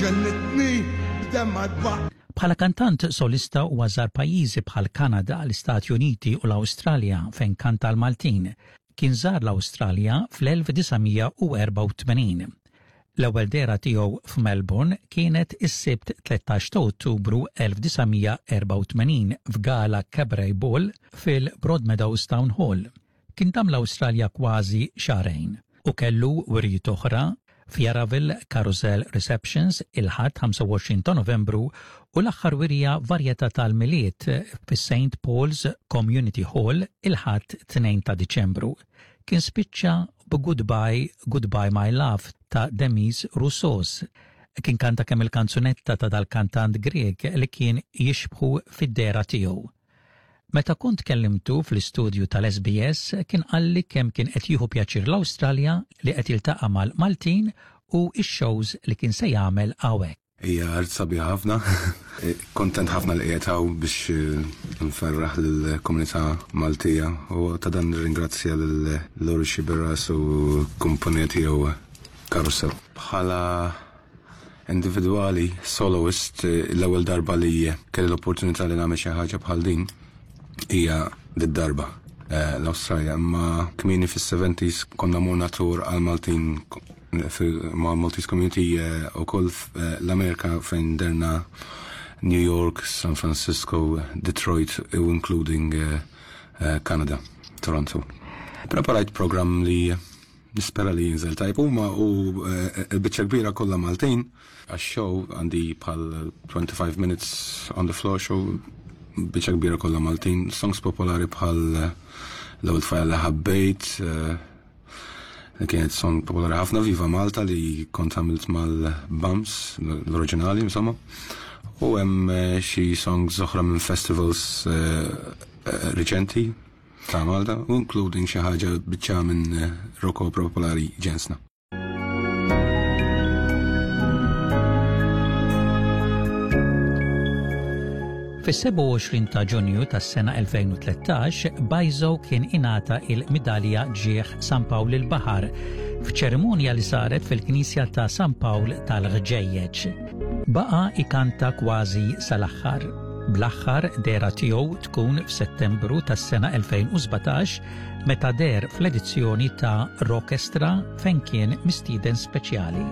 Ġennitni b'demma dbaq. Bħala kantant solista huwa żar pajjiżi bħal Kanada, l-Istati Uniti u l-Awstralja fejn kanta l-Maltin. Kien żar l-Awstralja fl-1984. L-ewwel dehra tiegħu f'Melbourne kienet is-Sibt 13 ta' Ottubru 1984 f'gala Cabaret Ball fil-Broadmeadows Town Hall. Kien dam l-Awstralja kważi xahrejn u kellu wirjiet oħra f'Yarraville Carousel Receptions il-Ħadd 25 ta' Novembru u l-aħħar wirja Varjetà tal-Milied fis-St Paul's Community Hall il-Ħadd 2 ta' Diċembru. Kien spiċċa b'Goodbye, Goodbye My Love ta' Demis Roussos. Kien kanta kemm il-kanzunetta ta' dal-kantant Grieg li kien jixbħu fid-dehra tiegħu. Meta kont kellimtu fl-istudju tal-SBS kien qalli kemm kien qed jieħu pjaċir l-Awstralja li qed jiltaqa' mal-Maltin u x-shows li kien se jagħmel hawnhekk. Hija art sabiħa ħafna. Kuntent ħafna li qiegħed hawn biex nferraħ lill-komunità Maltija u ta' dan nirringrazzja lil Lori Sciberras u l-kumpanija tiegħu Carousel. Bħala Individwali, soloist, l-ewwel darba li kelli l-opportunità li nagħmel xi ħaġa bħal din hija did-darba l-Awstralja. Imma kmieni fis-70s konna morna tour għal Maltin ma' Maltese Community ukoll l-Amerika fejn derna New York, San Francisco, Detroit u including Canada, Toronto. Preparajt programm li Nispera li jinżel tajb. Huma u l-biċċa kbira kollha Maltin. Għax-show għandi bħal 25 minutes on the floor show biċċa kbira kollha Maltin. Songs popolari bħal l-ewwel tfajla li ħabbejt, li kienet song popolari ħafna Viva Malta li kont għamilt mal-Bums, l-oriġinali insomma. U hemm xi songs oħra minn festivals riċenti. Ta' Malta, u including xi ħaġa biċċa minn rock opera popolari Ġensna. Fis-27 ta' Ġunju tas-sena 2013, Bajzo kien ingħata il-Midalja Ġieħ San Pawl il-Baħar f'ċerimonja li saret fil-Knisja ta' San Pawl tal-Ħġejjeġ. Baqa' ikanta kważi sal-aħħar. Bl-aħħar dehra tiegħu tkun f'Settembru tas-sena 2017 meta deher fl-edizzjoni ta' Rockestra fejn kien mistieden speċjali.